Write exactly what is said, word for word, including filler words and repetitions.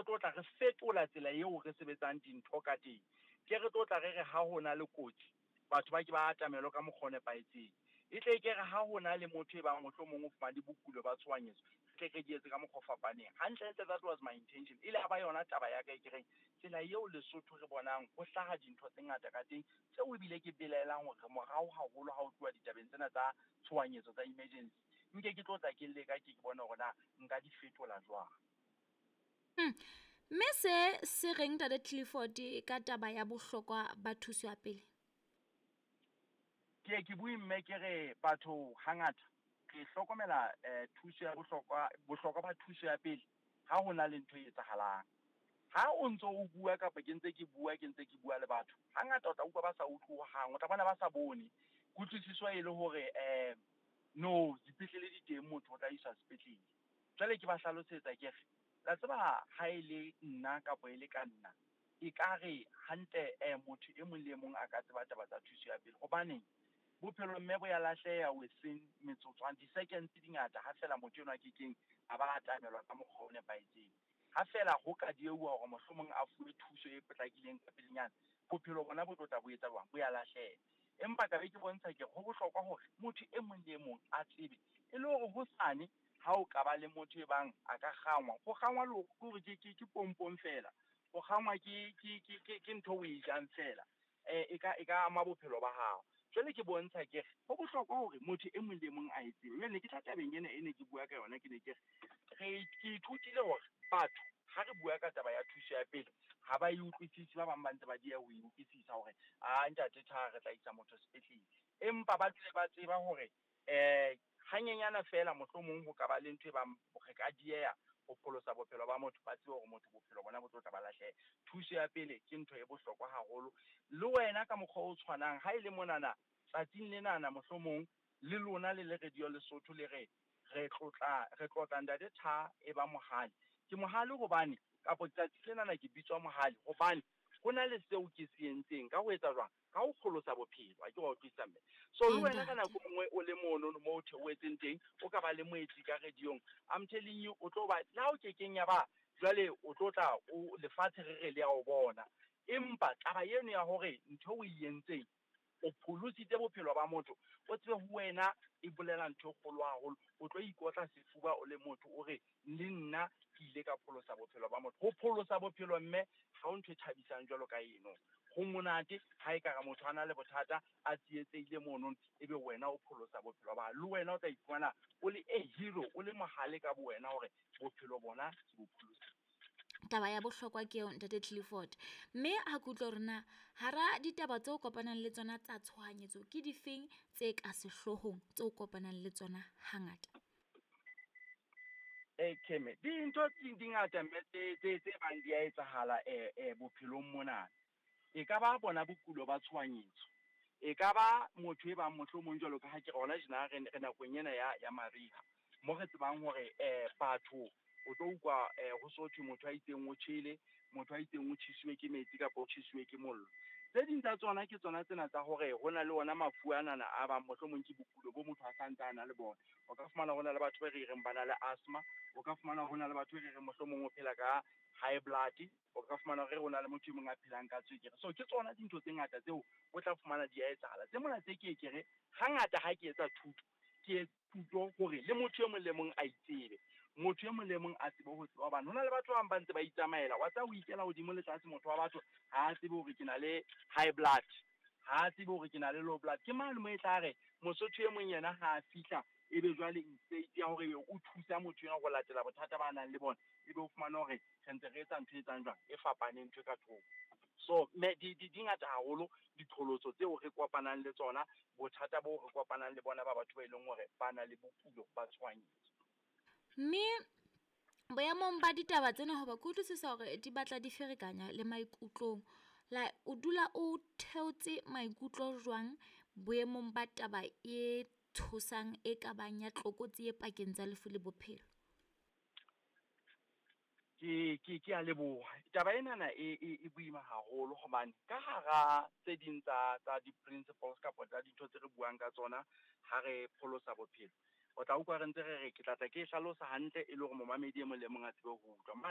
re tlo tla re fetola tsela eo re sebetsang dintho ka teng. Ke re tlo tla re re ha ho na le kotsi, batho ba ke ba atamelwe ka mokgwa o nepahetseng. E tle ke re ha ho na le motho e bang mohlomong o fumane bokulo ba tshohanyetso, re tle re di etse ka mokgwa o fapaneng. Hantlentle that was my intention. E le ba yona taba ya ka e ke reng tsela eo Lesotho re bonang ho hlaha dintho tse ngata ka teng, tseo ebile ke belaelang hore morao haholo ha ho tluwa ditabeng tsena tsa tshohanyetso tsa emergency. Nke ke tlo tla ke leka ke ke bone hore na nka di fetola jwang. Hmm. Mme se se reng Ntate Clifford ka taba ya bohlokwa ba thuso ya pele? Ke ke bue mme ke re batho hangata re hlokomela eh, thuso ya bohlokwa bohlokwa ba thuso ya pele ha ho na le ntho e etsahalang. Ha o ntso o bua kapa ke ntse ke bua ke ntse ke bua le batho, hangata o tla utlwa ba sa utlwe hohang, o tla bona ba sa bone. Kutlwisiso e le hore eh no dipetlele di teng, motho o tla iswa sepetlele. Jwale ke ba hlalosetsa ke re la tseba ha e le nna kapa e le ka nna, ekare hantle eh motho e mong le e mong a ka tseba taba tsa thuso ya pele. Hobaneng bophelo mme bo ya lahleha within metsotswana, di-seconds di ngata ha fela motho enwa a kekeng a ba atamelwa ka mokgwa o nepahetseng. Ha fela ho ka dieuwa hore mohlomong a fuwe thuso e potlakileng ka pelenyana, bophelo bona bo tlo tla bo etsa jwang? Bo ya lahleha. Empa ka be ke bontsha ke ho bohlokwa hore motho e mong le e mong a tsebe, e le hore hosane ha o ka ba le motho e bang a ka kgangwa, ho kgangwa le hore ke ke ke pompong fela, ho kgangwa ke ke ke ke ke ntho o e jang fela, eh e ka e ka ama bophelo ba hao. Jwale ke bontsha ke re ho bohlokwa hore motho e mong le e mong a e tsebe. Jwale ke tla tabeng ena e ne ke bua ka yona, ke ne ke re re ke ithutile hore batho ha re bua ka taba ya thuso ya pele ha ba e utlwisise, ba bang ba ntse ba dieha ho e utlwisisa hore a ntate tha re tla isa motho sepetlele, empa ba dule ba tseba hore eh hanyenyana fela mohlomong ho ka ba le ntho e bang re ka dieha ho pholosa bophelo ba motho, ba tsebe hore motho bophelo bona bo tlo tla ba lahleha. Thuso ya pele ke ntho e bohlokwa haholo. Le wena ka mokgwa o tshwanang, ha e le monana tsatsing lenana mohlomong le lona le le Radio Lesotho le re re tlotla re tlotla Ntate Tha e ba mohale. Ke mohale hobane kapa tsatsi lenana ke bitswa mohale hobane ho na le seo ke se entseng ka ho etsa jwang? Ka ho pholosa bophelo. A ke wa utlwisisa mme. So le wena ka nako e nngwe o le mono mo o theohetseng teng, o ka ba le moetsi ka radio-ong. I'm telling you, o tlo ba le ha o kekeng ya ba jwale o tlo tla o lefatshe re re le ya o bona. Empa taba eno ya hore ntho o e entseng o pholositse bophelo ba motho, o tsebe ho wena e bolela ntho e kgolo haholo. O tlo ikotla sefuba o le motho o re le nna ke ile ka pholosa bophelo ba motho. Ho pholosa bophelo mme ha ho ntho e thabisang jwalo ka eno. Ho monate ha ekare motho a na le bothata a tsietsehile mono, ebe wena o pholosa bophelo ba hae. Le wena o tla iphumana o le a hero, o le mohale ka bo wena hore bophelo bona ke bo pholositse. Taba ya bohlokwa ke eo Ntate Clifford. Mme ha ke utlwa hore na hara ditaba tseo kopanang le tsona tsa tshohanyetso ke difeng tse ka sehloohong tseo kopanang le tsona hangata? Eh Keme, dintho di di ngata mme tse tse tse bang di a etsahala eh eh bophelong mona. E ka ba bona bokulo ba tshohanyetso. E ka ba motho e bang mohlomong jwalo ka ha ke re hona tjena re re nakong ena ya ya mariha, mo re tsebang hore eh batho o tlo utlwa eh ho so thwe motho a itseng o tjhele, motho a itseng o tjhesitswe ke metsi kapa o tjhesitswe ke mollo. Tse ding tsa tsona ke tsona tsena tsa hore ho na le ona mafu anana a bang mohlomong ke bokulo bo motho a santse a na le bona. O ka fumana ho na le batho ba re reng ba na le asthma, o ka fumana ho na le batho ba re reng mohlomong o phela ka high blood, o ka fumana hore ho na le motho e mong a phelang ka tswekere. So ke tsona dintho tse ngata tseo o tla fumana di a etsahala. Tse mona tse ke ke re hangata ha ke etsa thuto, ke thuto hore le motho e mong le mong a itsebe. Motho e mong le mong a tsebe ho tseba hobane ho na le batho ba bang ba ntse ba itsamaela. Wa tseba ho ikela hodimo le tlase motho wa batho ha a tsebe hore ke na le high blood, ha a tsebe hore ke na le low blood. Ke mane mo e tla re Mosotho e mong yena ha a fihla ebe jwale instead ya hore ebe o thusa motho enwa ho latela bothata ba nang le bona, ebe o fumana hore re ntse re etsa ntho e etsang jwang, e fapaneng ntho e ka thoko. So me di di di ngata haholo diqholotso tseo re kopanang le tsona, bothata bo re kopanang le bona ba batho ba e leng hore ba na le bokulo ba tshohanyetso. Mme boemong ba ditaba tsena, hoba ke utlwisisa hore di batla di ferekanya le maikutlong, la o dula o theotse maikutlo jwang boemong ba taba e tshosang e ka bang ya tlokotsi e pakeng tsa lefu le bophelo? Ke ke ke a leboha. Taba enana e e e boima haholo hobane ka hara tse ding tsa tsa di-principles kapa tsa dintho tse re buang ka tsona ha re pholosa bophelo, o tla utlwa re ntse re re ke tla tla ke e hlalosa hantle e le hore momamedi e mong le mong a tsebe ho utlwa. Mane